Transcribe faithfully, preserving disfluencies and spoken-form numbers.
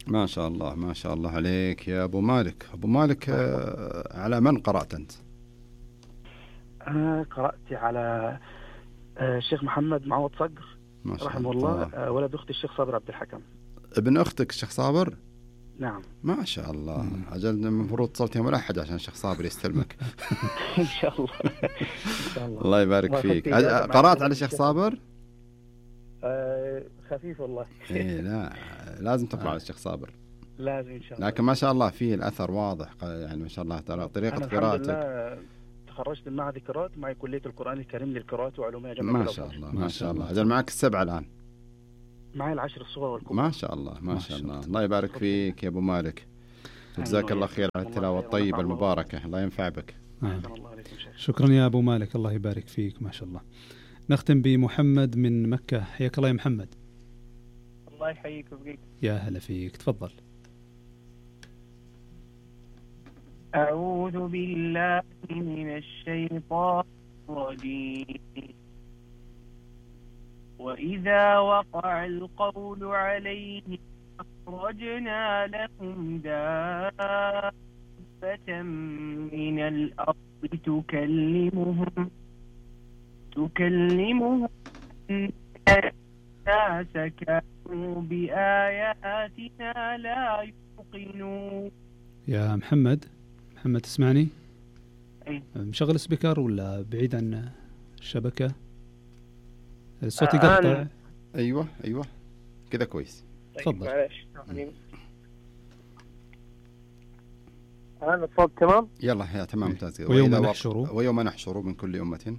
ما شاء الله ما شاء الله عليك يا أبو مالك. أبو مالك آه على من قرأت أنت؟ أنا قرأت على آه الشيخ محمد معوض صقر رحمه الله, الله. آه ولد أختي الشيخ صابر عبد الحكم. ابن أختك الشيخ صابر؟ نعم. ما شاء الله. مم. أجل المفروض صوتي ملحد عشان الشيخ صابر يستلمك. إن شاء الله. إن شاء الله. الله يبارك فيك. قرأت على الشيخ صابر؟ آه خفيف والله. إيه لا لازم تقرأ على الشيخ صابر. لازم إن شاء الله. لكن ما شاء الله فيه الأثر واضح يعني ما شاء الله ترى طريقة قراءتك. تخرجت من معهد القراءات معي كلية القرآن الكريم للقراءات وعلومها جامعة ما شاء الله ما شاء الله. أجل معك السبعة الآن؟ معي العشر الصغار والكبار. ما شاء الله ما شاء الله. الله يبارك فيك يا أبو مالك. جزاك الله خير على التلاوة الطيبة المباركة. الله ينفع بك. شكرا يا أبو مالك الله يبارك فيك ما شاء الله. نختم بمحمد من مكة. حياك الله يا محمد. الله يحييك ويبقيك. يا هلا فيك تفضل. أعوذ بالله من الشيطان الرجيم. وإذا وقع القول عليهم أخرجنا لهم دابة من الأرض تكلمهم تكلمهم الناس كانوا بآياتنا لا يوقنون. يا محمد محمد تسمعني؟ أي. مشغل سبيكر ولا بعيد عن الشبكة؟ الصوت يقطع. آه أيوة أيوة كذا كويس. تفضل. معلش الآن الصوت تمام؟ يلا يا تمام ممتاز. ويوم نحشر ويوم نحشر من كل أمة.